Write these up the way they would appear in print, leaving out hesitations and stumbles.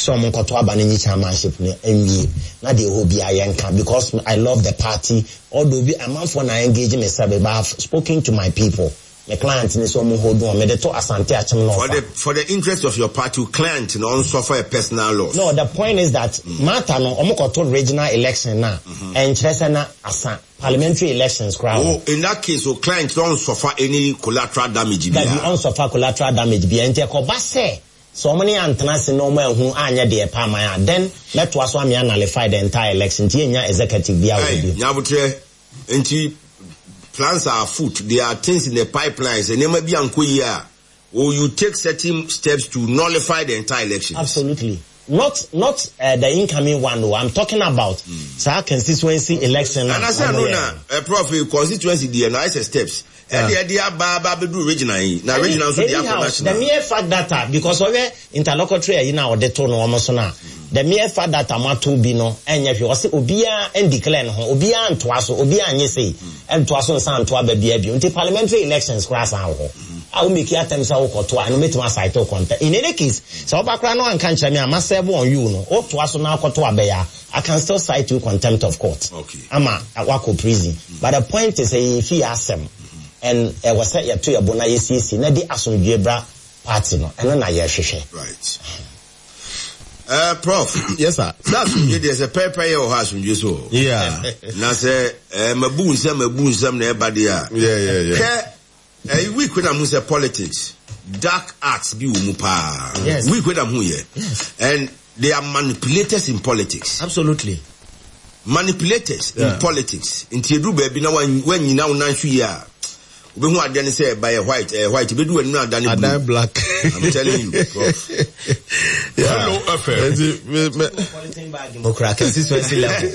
sɛ ɔmo nkɔto aba no nyi chairmanship no nwie na deɛ ɛwɔ biara yɛnka because I love the party although bi amanfoɔ na engage me sɛ but I have spoken to my people me client ne sɛ ɔmo hold on mede to Asante Akyem North For a. the for the interest of your party wo client no ɔnsuffer a personal loss. No the point is that matter no ɔmo kɔto regional election no a ɛnkyerɛ sɛ na asa parliamentary elections koraa wɔ. Oh in that case wo client no ɔnsuffer any collateral damage Dabi biara. ɔnsuffer collateral damage biara nti ɛkɔba sɛ Sɛ wɔn ne yɛn antena ase na wɔn anhu anyɛ deɛ ɛpɛ ama yɛn a, then mɛtoa so ame anullify the entire election nti yɛnnya executive biara wɔ hɔ Hey, bio. Nyabotrɛ, nti plans are afoot, there are things in the pipeline, sɛ nneɛma bi ankɔ yie a, will you take certain steps to nullify the entire elections? Absolutely. Not not eh, the incoming one o, I'm talking about saa constituency election a Anasɛ wɔn ɛno yɛɛ na no. eh, prof, eh, constituency deɛ no ayɛ sɛ steps. Ɛde ɛde aba aba abɛduru regional yi, na regional nso de akɔ Anyhow, the national. mere fact that a because ɔhwɛ interlocutory ayi no a ɔde to no wɔn so no a, the mere fact that a moato bi no ɛnyɛ hwee. Ɔse obiara ndeclare ne ho, obiara ntoa so, obiara nyɛ sei, ɛntoa so nsan nto aba biara bio. Nti parliamentary elections koraa san wɔ hɔ a wo make attempt sɛ wokɔto a, ɛno mɛtumi acite wo contempt. In any case, sɛ woba koraa na woanka nkyerɛ me a, ma serve on you no, wotoa so na akɔto aba yi a, I can still cite you contempt of court ama wakɔ prison but the point is ɛyɛ yɛn fie asɛm and ɛwɔ sɛ yɛto yɛn bo na yɛsiesie na de asomdwoeɛ bra party no ɛno na yɛhwehwɛ. Right. Uh, Prof. Yes, sir. Sɛ asomdwe deɛ sɛ pɛpɛ yɛ wɔ hɔ asomdwe so wɔ. Yeah. Na sɛ eh, mabu nsɛm mabu nsɛm na ɛba deɛ a. Yeah, yeah, yeah. Hwɛ eh, week na mu sɛ politics dark arts bi wɔ mu paa. Yes. Week na mu yɛ. Yes. And they are manipulators in politics. Absolutely. Manipulators Yeah. in politics. Nti edu baabi na wanyina wo nan so yie a, wobɛhu adeɛ no sɛ ɛba yɛ white, ɛyɛ white, ebedu w'anim na adane blue. Adan black. I'm telling you, prof. Yeah. Hello FM. Nti me me Polythene bag mu kura constituency level.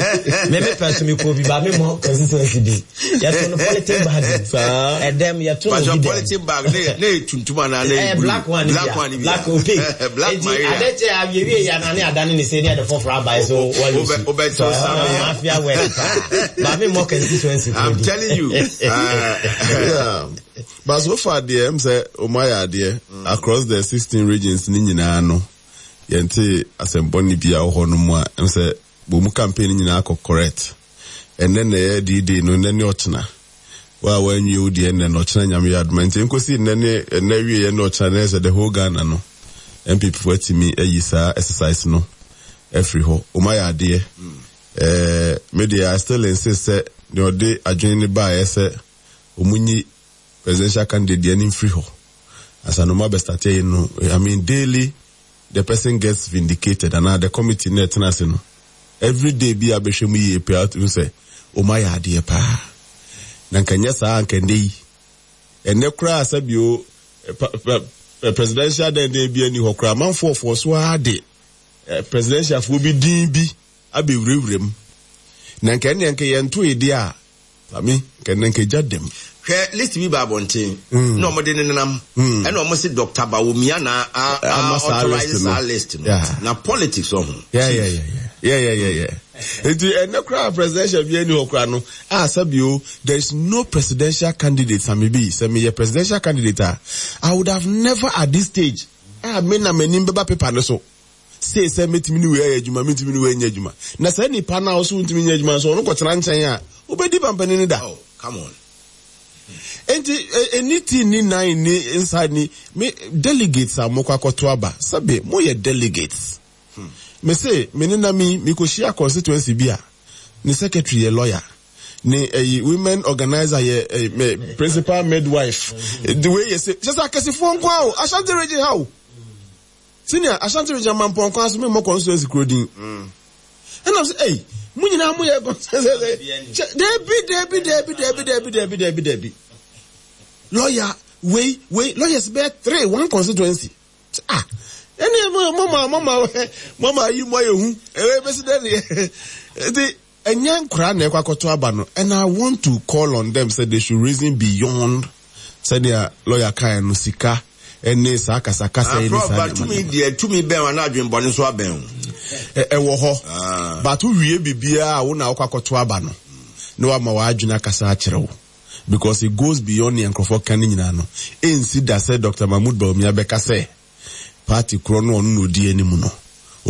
Me me pɛ so me kɔ bi ba me mɔ constituency bi. Yɛto no polythene bag. Saa. Ɛdɛm yɛto no But your bi dɛm. polythene bag ne ne yɛ tuntum anaa ne yɛ Ɛyɛ blue? black one Black bi one a. bi Black opaque. Black Eti Maria. ade kyɛ awiewie yɛ anane adane ne se ne yɛde foforɔ aba yi so wɔyi Wobɛ wobɛ to sami. Mafia work paa. Ba me mɔ constituency kɔ I'm bi. telling you. Yeah. But so far deɛ m sɛ ɔmo ayɛ adeɛ across the 16 regions ne nyinaa no yɛnte asɛmbɔne bi a wɔ hɔ no mu a m sɛ wɔn mu campaign no nyinaa kɔ correct. Ɛnnɛ na ɛyɛ D-Day no, nnɛ ne ɔkyena. Wo a woanwie wo deɛ nnɛ no, ɔkyena Nyame yɛ adom a. Nti ɛnkɔsi nnɛ ne ɛnnɛ awieɛ ne ɔkyena no, ɛyɛ sɛ the whole Ghana no, NPP foɔ atumi ayi saa exercise no afiri hɔ. Wɔn ayɛ adeɛ. Eh, me deɛ I still insist sɛ deɛ ɔde adwene no baeɛ sɛ wɔn nyi presidential candidate deɛ no mfiri hɔ ansa na wɔn abɛstarte ayi no, I mean daily the person gets vindicated anaa the committee na ɛtena ase no everyday bi a bɛhwɛ mu yie paa wotumi sɛ wɔn ayɛ adeɛ paa na nka nyɛ saa nka ɛnɛ yi ɛnɛ koraa sɛbio presidential dɛndɛn bi ani hɔ koraa amanfoɔ foɔ so ara de presidentialfoɔ bi din bi abɛwurawura mu na nka ɛnneɛ nka yɛnto edeɛ a Sami, nka ɛnnɛ nka egya dɛm. Hwɛ list bi ba abɔnten na wɔn de nenam ɛna wɔn se Doctor Bawumia na a Ama saa authorize list no. saa list no. Yeah. Na politics ɔho. Yeah, yeah, yeah, yeah, yeah, yeah, yeah. Nti ɛnnɛ koraa presidential bi ani hɔ koraa no, a sɛbio there is no presidential candidate Sami bi sɛ meyɛ presidential candidate a, I would have never at this stage a me na m'anim bɛba paper no so. Sei sɛ mɛtumi ne wei ayɛ adwuma, mentumi ne wei nyɛ adwuma. Na saa nipa no a ɔso wontumi nyɛ adwuma nso, ɔno kɔtena nkyɛn a, wobɛdi pampani no da. Oh, come on. Enti, ɛni ti ni nan ni nsa ni, me delegates a mokɔ akɔto aba, sɛbe moyɛ delegates. Hmm. Me se, me ne nami, mekɔhyia constituency bi a, ne secretary yɛ lawyer. Ne ɛyi women organizer yɛ ɛyi principal midwife. The way yɛ se, kyɛ sɛ akɛsefoɔ nko a o, Ashanti region ha o. Senior, Ashanti region Mampɔn kwan so memmɔ constituency kuro din. Ɛna sɛ, ei, mo nyinaa mo yɛ constituency. Debi, debi, debi, debi, debi, debi, debi, debi. Lawyer, wei, wei, lawyers bɛyɛ three, one constituency. Ah, ɛne mo mo mo mo mo mo ayi mo ayɛ hu. Ɛwɛ bɛsi dɛ deɛ. Nti, Ɛnyɛ nkoraa na ɛkɔ akɔto aba no and I want to call on them sɛ they should reason beyond sɛnea lawyer kaeɛ no sika ne saa kasakasa yi ne Prof, saa but nneɛma tumi nneɛma. deɛ tumi bɛn wo anaa adwenbɔne nso abɛn wo? Ɛwɔ hɔ but wowie biribiara a wo na wokɔ akɔto aba no na wama w'adwene akasa akyerɛ wo because it goes beyond nea nkurɔfoɔ ka no nyinaa no. Ɛnsi da sɛ Doctor Mahmood Bawumia bɛka sɛ party korɔ no ɔno na ɔdi anim no.